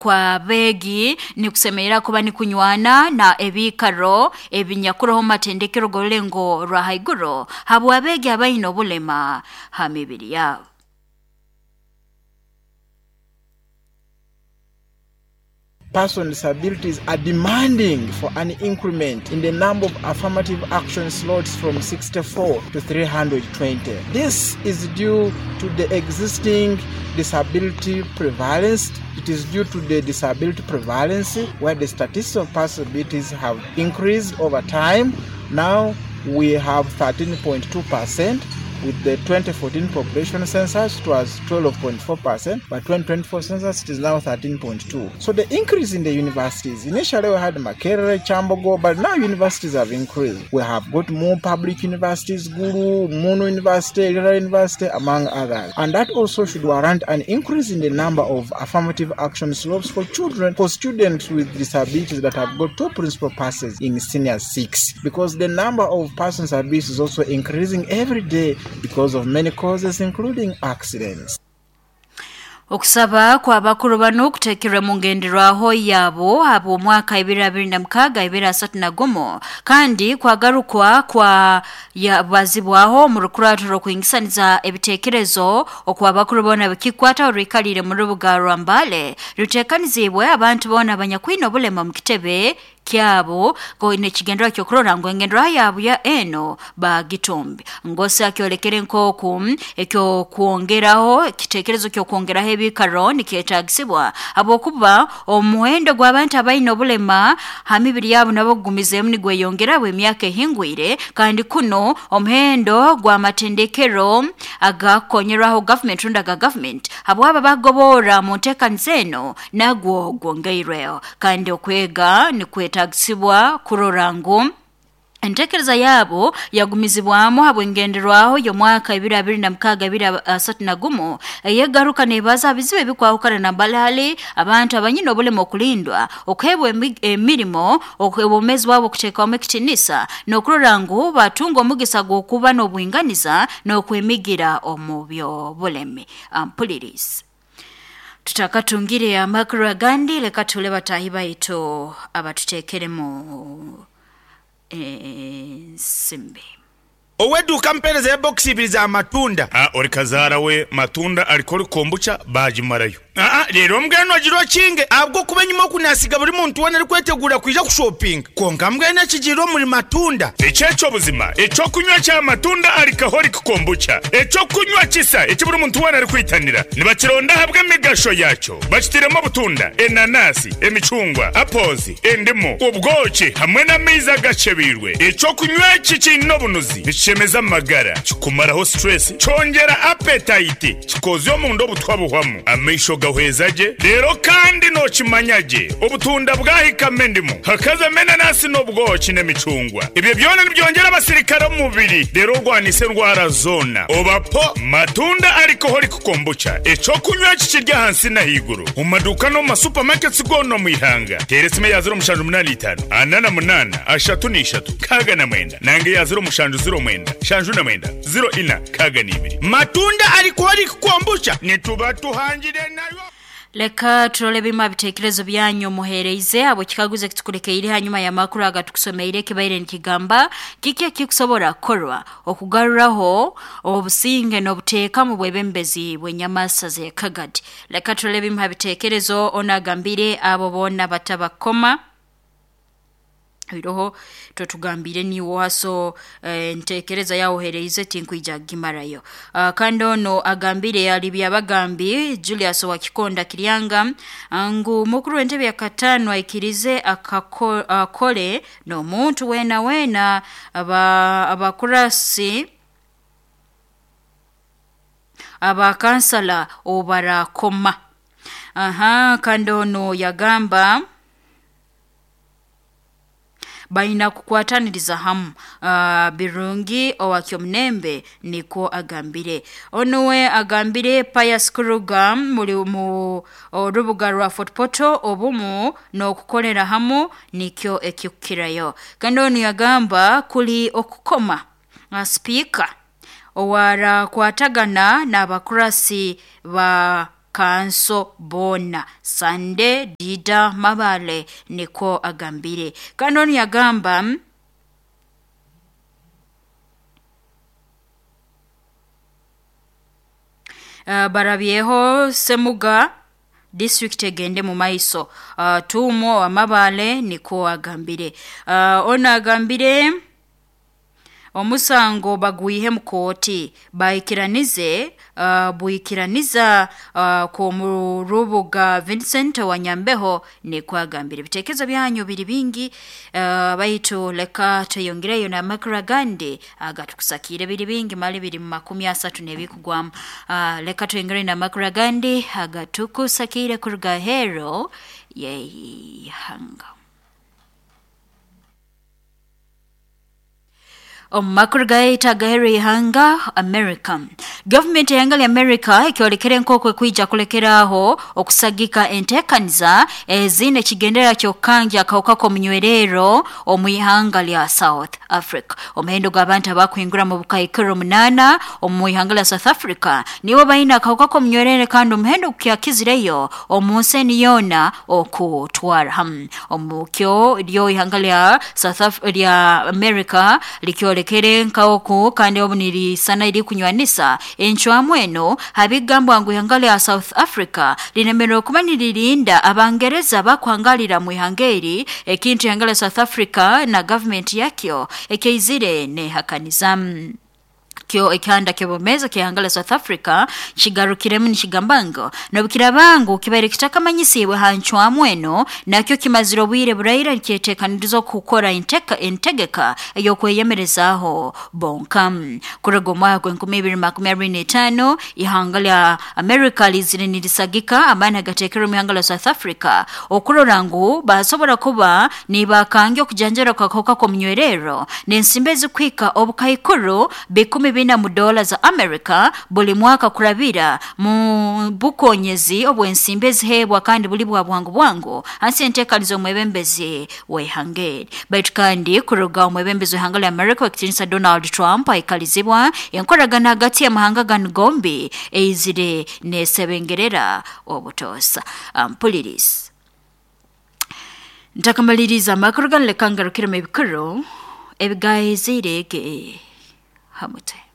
Kw'abeegi nikusemerera kuba nikunywana na ebiikaro ebinyakuroho mu matendekero g'orulengo rwa haiguru habw'abeegi abaine obulema ha mibiri yabo. Person disabilities are demanding for an increment in the number of affirmative action slots from 64 to 320. This is due to the existing disability prevalence. It is due to the disability prevalence where the statistics of person disabilities have increased over time. Now we have 13.2%. With the 2014 population census, it was 12.4%, but 2024 census, it is now 13.2. So the increase in the universities, initially we had Makerere, Kyambogo, but now universities have increased. We have got more public universities, Gulu, Mono University, Lira University, among others. And that also should warrant an increase in the number of affirmative action slopes for children, for students with disabilities that have got two principal passes in senior six, because the number of persons with disabilities is also increasing every day because of many causes including accidents. Okusaba kw'abakuru banu kuteekerwe mu ngenderwaho yabo habw'omwaka 2026 kandi kwagarukwa kwa yabazibwaho omu rukurato rw'okwingisaniza ebiteekerezo okw'abakuru boona bikikwata orwikalire mu rubuga rwa Mbale ruteekaniziibwe abantu boona abanyakwine obulema mu kitebe kyabo nekigendererwa ky'okurora ngu engenderwaho yabo ya eno bagitumbi. Ngosi akyolekere nk'oku ekyokwongeraho ekiteekerezo ky'okwongeraho ebiikaro nikyetaagisibwa habwokuba omuhendo gw'abantu abaine obulema ha mibiri yabo nabo gugumizeemu nigweyongera bw'emyaka ehingwire kandi kuno omuhendo gw'amatendekero agakukonyerwaho gavumenti rundi aga gavumenti habwabo abakugoborra mu nteekaniza eno nagwo gwongeirweho kandi okwega nikwetaagisibwa kurora ngu enteekereza yabo yagumizibwamu habw'engenderwaho y'omwaka 2026-2031 eyegaruka neebaza bizibu ebikwahukana nambali abantu abanyine obulema okulindwa okuheebwa emirimo obwomeezi bwabo okuteekwamu ekitiinisa n'okurora ngu batunga omugisa gw'okuba n'obwinganiza n'okwemigira omu by'obulemi. Ampulirizi tutakatungire amakuru agandi leka tule bataahi baitu abatuteekeremu ensimbi. Ow'eduuka ampeereza ya bokisi ibiri za matunda. A Ori kazaara we matunda alcoholic kombucha baagimarayo. Aa Reero mbwenu ogire okinge ahabw'okuba enyima oku naasiga buri muntu weena arikweteguura kwija kushopinga. Kwonka mbwenu ekigiire omuri matunda. Eki eky'obuzima, eky'okunywa kya matunda alcoholic kombucha, eky'okunywa kisa eki buri muntu weena arikwitanira. Nibakironda ahabw'emigasho yaakyo. Bakitairemu obutunda, enanasi, emicungwa, apples, endimu, obwoki hamwe n'amaizi agakyebeirwe. Eky'okunywa eki kiine obunuzi, nikishemeza amagara, kikumaraho stress, kyongyera appetite, kikoozya omunda obutwa buhwamu, amaisho gahweza gye, reero kandi nookimanya gye obutunda bwahikamu endimu, hakazamu enanasi n'obwoki n'emicungwa. Ebyo byona nibyongyera abasirikare omu mubiri reero orwanise endwara zoona. Oba po Matunda Alcoholic Kombucha, eky'okunywa eki kiri ahansi n'ahaiguru omu maduuka n'omu ma supermarkets goona omu ihanga. Teera esimu eya 0785 48 33 69 nanga eya 0709 79 04 62. Matunda Alcoholic Kombucha nituba tuhangire nayo. Leka turole ebimu ha biteekerezo byanyu muheereize habw'ekikaguzo ekitukulekeire hanyuma y'amakuru agatukusomeire ekibaire nikigamba kiki ekikusobora kukorwa okugaruraho obusinge n'obuteeka mu bwebembezi bw'enyamasa z'ekagadi. Leka turole ebimu ha biteekerezo onu agambire abo boona batabakoma. Oiroho totugambiire niiwe oha so enteekereza yaawe oheereize tinkwija kugimarayo. Kandi onu agambire ali Byabagambi Julius owa Kikonda Kiryanga ngu mukuru w'entebe ya kataano aikirize akole n'omuntu weena weena abakurasi abakansala obu baraakoma. Aha kandi onu yagamba baina kukwataniriza hamu Birungi owa Kyomunembe nikwo agambire. Onu we agambire Pius Kuruga muli mu orubuga rwa Fort Portal obumu n'okukolera hamu nikyo ekikukirayo. Kandi onu yagamba kuli okukoma sipiika owarakwatagana n'abakurasi ba kanso boona. Sande Dida Mabale niko agambire. Kandi onu yagamba barabyeho Semuga district egende mu maiso. Tuumo Amabale niko agambire. Ono agambire omusango bagwihe mu kooti baikiranize buikiraniza ku rubuga Vincent Wanyambeho niko agambire. Ebitekerezo byanyu biri bingi, baitu leka tweyongereyo n'amakuru agandi agatukusakire biri bingi mali biri mu 30 n'ebikugwamu. Leka tweyongereyo n'amakuru agandi agatukusakire kuruga hero yeihanga. Omu makuru gaita agahera ihanga America. Gavumenti y'ihanga lya America ekyolekere nk'oku ekwija kulekeraho okusagika enteekaniza ezine ekigendererwa ky'okukangya akawuka k'omunywerero omu ihanga lya South Africa. Omuhendo gw'abantu abakuhingura mu bukaikuru 8 omu ihanga lya South Africa nibo baine akawuka k'omunywerere, kandi omuhendo gukyakizireyo omu nsi eni yoona okutwara hamu. Omu kyo ryo ihanga lya South lya America likyolekere nkaoku kandi obu nirisana iri kunywanisa encwamu eno habigambwa ngu ihanga lya South Africa linemererwa kuba niririnda abangereza bakuhangalira mu ihanga eri, ekintu ihanga lya South Africa na gavumenti yakyo ekyaizire nehakaniza. Kyo ekyanda ky'obumeza ky'ihanga lya South Africa kigarukiremu nikigamba ngu nobukiraba ngu kibaire kitakamanyisiibwe ha ncwamu eno, nakyo kimazire obwire buraira nikyeteekaniriza okukora entegeka ey'okweyemerezaaho bonka. Kuruga omwaka gwa 2025 ihanga lya America lizire nirisagika amaani agateekerwe omu ihanga lya South Africa okurora ngu basobora kuba nibakangya okujanjara kw'akahuka k'omunywerero n'ensimbi ezikuhika obukaikuru $14 za America buli mwaka kurabira mu bukonyezi obw'ensimbi ezihebwa kandi buli bwa bwangu bwangu hansi enteekaniza omwebembezi w'ihanga eri. Baitu kandi kuruga omwebembezi w'ihanga lya America w'ekitiinisa Donald Trump aikalizibwa, enkoragana hagati y'amahanga ganu gombi eizire neesebengerera obutoosa. Mpuliriza ntakamaliriza amakuru ganu, leka ngarukiremu ebikuru ebigayezire ge hamute.